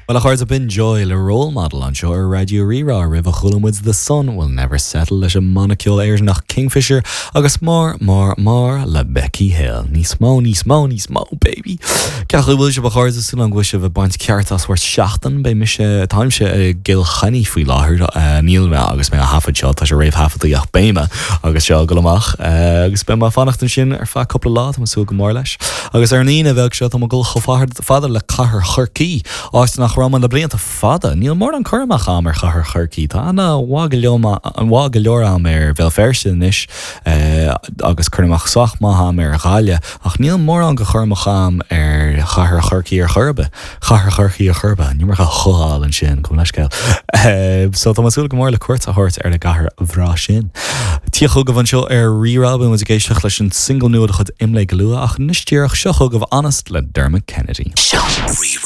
Bhuel a chairde, b'in Joy le Role Model anseo ar Raidió Rí-Rá roimhe chuala muid The Sun Will Never Settle leis an mbanna ceoil Éireannach Kingfisher agus More, More, More le Becky Hill. Níos mó, níos mó, níos mó, baby! Cén chaoi a bhfuil sibh a chairde, súil agam go bhfuil sibh ag baint ceart as bhur seachtain. Beidh mise, táimse i gCill Chainnigh faoi láthair, níl mé agus mé á thaifead seo, tá sé réamhthaifeadta ach beidh mé agus seo ag dul amach agus beidh mé ag fanacht ansin ar feadh cúpla lá, tá mé ag súil go mór leis. Agus ar an Aoine bheag seo tá mé ag dul chomh fada le cathair Chorcaí, áit nach raibh mé le blianta fada. Níl mórán cur amach a'm ar chathair Chorcaí. Tá aithne mhaith go leor mhaith go leor a'm ar Bhéal Feirste anois agus cur amach sách maith a'm ar Ghaillimh, ach níl mórán de chur amach a'm ar chathair Chorcaí ar chor ar bith. Chathair Chorcaí ar chor ar bith. An iomarca ch-áil ansin, gabh mo leithscéal. So tá mé ag súil go mór le cuairt a thabhairt ar an gcathair bhreá sin. Dia chugaibh anseo ar Rí-Rá, beidh muid ag éisteacht leis an single nua de chuid Imlé go luath, ach anois díreach, seo chugaibh Honest le Dermot Kennedy. Rí-Rá.